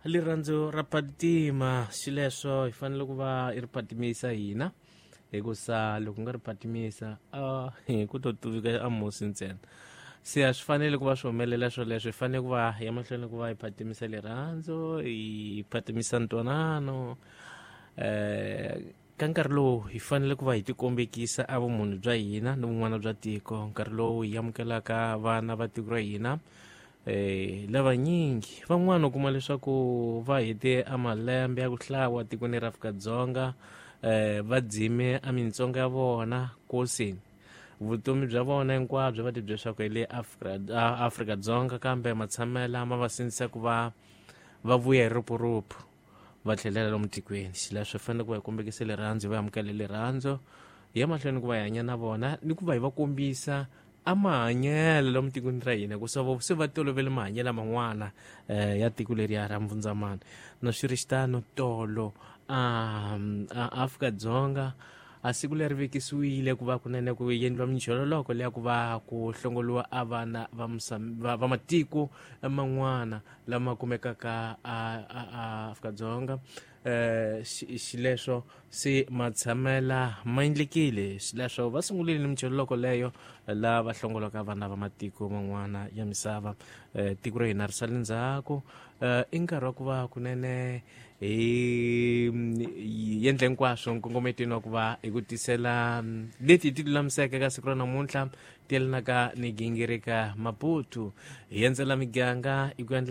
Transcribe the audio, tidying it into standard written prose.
Rirhandzu ra patima, xileswo hi fanele ku va i ri patimisa hina, hikusa loko nga ri patimisa a ku to tuvika a musi ntsena. Se a swi fanele ku va swi humelela swoleswo, hi fanele ku va ya mahlweni ku va hi patimisa rirhandzu, hi patimisa ntwanano. Ka nkarhi lowu hi fanele ku va hi tikombekisa a vumunhu bya hina ni vun'wana bya tiko, nkarhi lowu hi amukelaka vana va tiko ra hina lavanyingi van'wana u kuma leswaku va hete a malembe ya ku hlawa tikweni ra Afrika-Dzonga, va dzime a mintsongo ya vona kosini vutomi bya vona hinkwabyo va tibye leswaku hi le Afrika-Dzonga, kambe matshamela ma va sindzisa ku va va vuya hi rupuruphu va tlhelela lomu tikweni. Xileswo hi fanele ku va hi kombekisa rirhandzu, hi va amukela rirhandzu, hi ya mahlweni ku va hi hanya na vona ni ku va hi va kombisa a mahanyelo lomu tikweni ra hina, ku se va tolovele mahanyelo man'wana ya tiko leriya ra Mbvundzamani. Na swi ri xitano tolo a Afrika-Dzonga a siku leri vekisiwile ku va kunene ku endliwa minjhololoko leya ku va ku hlongoliwa a vana va matiko man'wana lama kumekaka a Afrika-Dzonga. Xileswo se matshamela ma endlekile, xileswo va sungurile ni minjhololoko leyo la va hlongolaka vana va matiko man'wana ya misava. Tiko ra hina ri sale ndzhaku, i nkarhi wa ku va kunene hi endla hinkwaswo nkongometweni wa ku va hi ku tisela leti hi ti lulamiseke ka siku ra namuntlha ti yelanaka ni gingirika Maputo, hi endzela miganga hi ku endla.